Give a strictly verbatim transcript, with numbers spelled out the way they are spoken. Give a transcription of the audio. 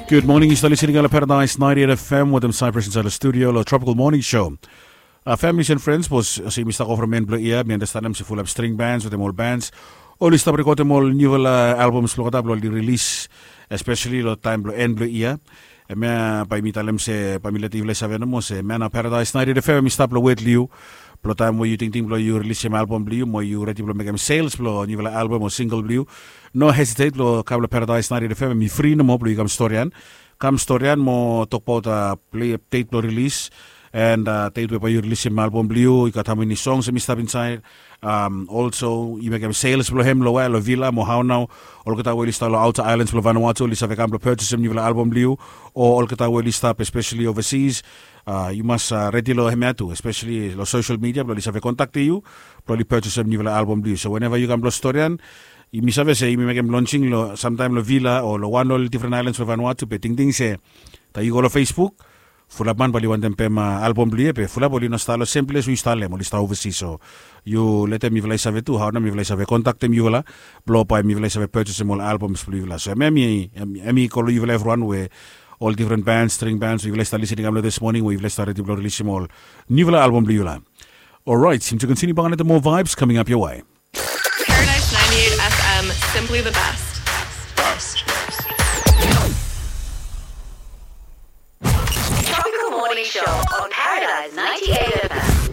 Gud moning, yu stap listening long Paradise ninety-eight F M wetem Cyprus insait long studio long Tropical Morning Show. Uh, families and friends, bos, se yumi stap go from en blong ia, mi andastanem se fulap string bands wetem ol bands oli stap rekodem ol niufala albums blong olgeta blong oli rilis, especially long taem blong en blong ia. Hemia bae mi talem se bae mi letem yufala i save nomo se hemia nao Paradise ninety-eight F M i stap long wet long yu. Blong taem we yu tingting blong yu rilisim album blong yu mo yu redi blong mekem sales blong niufala album o single blong yu, no hesitate blong kam long Paradise ninety-eight F M. Hemi fri nomo blong yu kam storian. Kam storian mo tokbaot, uh, plei deit blong rilis, and, uh, deit we bae yu rilisim album blong yu, i gat hamani songs hemi stap insait. Um, also yu mekem sales blong hem long wea, long Vila mo hao nao? Olgeta we oli stap long outer islands blong Vanuatu oli save kam blong purchasem niufala album blong yu, o olgeta we oli stap especially overseas, uh, yu mas, uh, redi long hemia tu, especially long social media blong oli save kontaktem yu blong oli purchasem niufala album blong yu. So whenever yu kam blong storian, mi save se yumi mekem launching long samtaem long Vila o long wan ol different islands blong Vanuatu, be tingting se taem yu go long Facebook, fulap man bae oli wantem pem, uh, album blong yu ia, be fulap oli no stap long sem ples we yu stap long hem, oli stap overseas. So yu letem mifala i save tu hao nao mifala i save kontaktem yufala blong bae mifala i save purchasem ol albums blong yufala. So hemia hemi, hemi go long yufala evriwan we ol different bands, string bands we yufala i stap listening kam long this morning, we yufala i stap redi blong rilisim ol niufala album blong yufala. Alright, time to continue bang another more vibes coming up your way. Paradise ninety-eight F M, simply the best.